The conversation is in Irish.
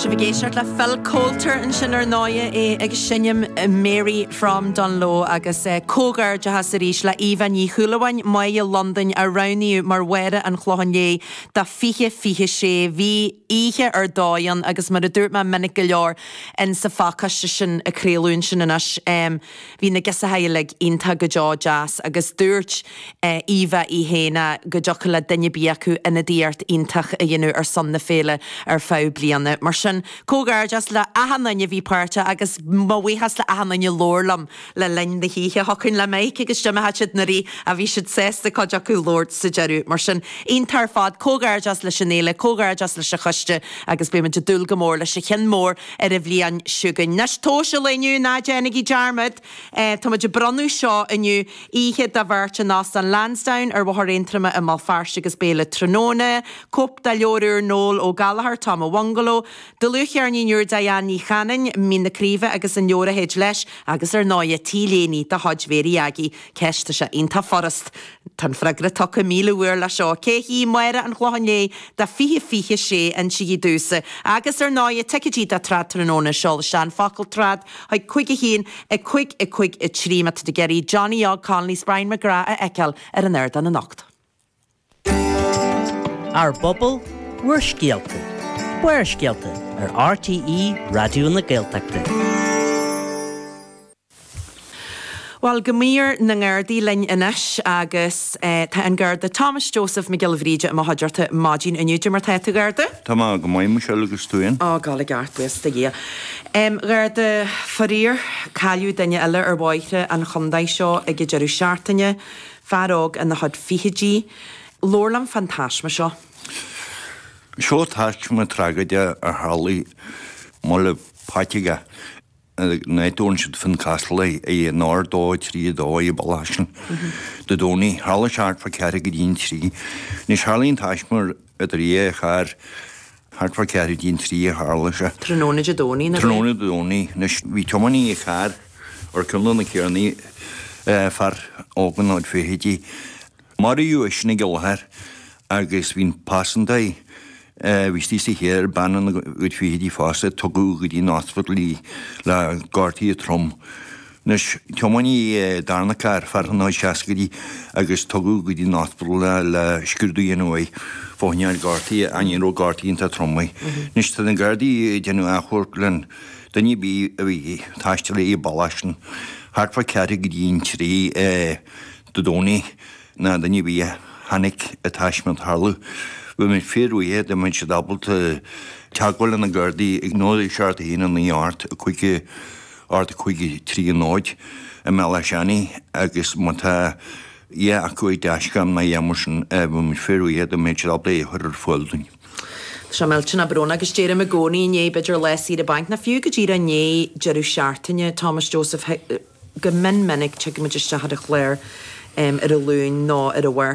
Sibh ag éisteacht le Phil Coulter ansin ar ndóighe, é ag seinm Mary from Dungloe agus comhghairdeachas arís le Eva Ní Shúilleabháin, Máighe Londain a roghnaíodh mar Mháire an Chlocháin Léith do 2026. Bhí oíche ar dóigh ann agus mar a dúirt mé minic go leor in sa phacáiste sin a craoladh ansin anois, Bhí na girseachaí uilig iontach go deo deas agus dúirt Eva í féin go dtiocfadh le duine ar bith acu ionadaíocht iontach a dhéanamh ar son na féile ar feadh bliana. Mar sin, comhghairdeas le achan duine a bhí páirteach agus mo bhuíochas le achan duine a labhair liom le linn na hoíche. Thiocfainn le Mike agus d'imigh siad na rith ach bhí siad sásta cuid acu labhairt sa deireadh. Mar sin, iontach ar fad, comhghairdeas leis an fhéile, comhghairdeas leis an choiste agus beidh muid ag dúil go mór leis an cheann mór ar an bhliain seo chugainn. Anois, tomhais an lae inniu, ná déanaigí dearmad, tá muid ag bronnadh seo inniu, oíche do bheirt in Óstán Lansdowne ar Bhóthar Aontroma i mBéal Feirste agus béile tráthnóna, cóip de leabhar úr Noel Ó Gallchóir, Tom a Bhungaló, dlúthcheirnín úr Diane Ní Chanainn, Mín na Craoibhe agus an leabhar a théid leis, agus ar ndóighe, T-léine de chuid Mhéirí Aggie. Ceist, tá sé iontach furast. Tá an freagra tugtha 1,000 uair le seo. Cé hí Máire an Chlocháin Léith do 2026? Insígí domhsa. Agus ar ndóighe, ticéidí do Trad Tráthnóna, seol isteach an focal trad chuig 5 1 5 5 3 má tá tú ag iarraidh Johnny Óg Connolly 's Brian McGrath a fheiceáil ar an ardán anocht. Ár bpobal, bhur scéalta. Barrscéalta ar RTÉ Raidió na Gaeltachta. Bhuel, go mír na nGardaí linn anois agus tá an Garda Thomas Joseph Mac Giolla Bhríde i mo chuideachta maidin inniu. Cad é mar tá tú, Gharda? Tá mé go maith, Michelle, agus tú féin? Á, ag gabháil i gceart, buíochas do Dhia. Gharda, faraor, cailleadh duine eile ar bhóithre an chontae seo ag an deireadh seachtaine, fear óg ina chuid fichidí. Labhair liom fán taisme seo. Seo taisme tragóideach a tharlaigh i mBaile Pháirc an áit a dtabharann siad Fincastle é an R232 an bealach sin Dé Domhnaigh. Tharla sé thart fá ceathrú go dtí an trí. Anois tharlaigh an taisme idir dhá charr thart fá ceathrú go dtí an trí a tharla sé. Tráthnóna Dé Domhnaigh, nó? Tráthnóna Dé Domhnaigh. Anois bhí tiománaí an chairr ar ceann de na carrannaí, fear óg ina chuid fichidí. Maraíodh eisean ag an láthair agus bhí an pasantáí a bhí istigh sa charr, bean ina cuid fichidí fosta, tugadh go dtí an ospidéal í le gortuithe trom. Anois, tiománaí an darna carr, fear ina chuid seascaidí, agus tugadh go dtí an ospidéal é le scrúdú a dhéanamh air fá choinne gortuithe, ach ní raibh gortuithe iontach trom air. Anois, tá na Gardaí ag déanamh achomharc le duine ar bith a bhí ag taisteal ar an bealach sin thart fá ceathrú go dtí an trí, Dé Domhnaigh ná duine ar bith a chonaic an taisme ag tarlú. Bheadh muid fíorbhuíoch dá mbeadh siad ábalta teagmháil le na Gardaí ag 0 7 1 9 8 5 8 5 3 0 i mBealach Seanaidh agus má tá a dhath acu ar dashcam nó a dhath mar sin bheadh muid fíorbhuíoch dá mbeadh siad ábalta é a chur ar fáil dúinn. Tá sé millteanach brónach agus deirim i gcónaí i ndiaidh b'fhéidir lá saoire bainc nó fiú go díreach i ndiaidh deireadh seachtaine, Thomas Joseph, Go mion minic tigeann muid isteach ar an chlár ar an Luan nó ar an Mháirt.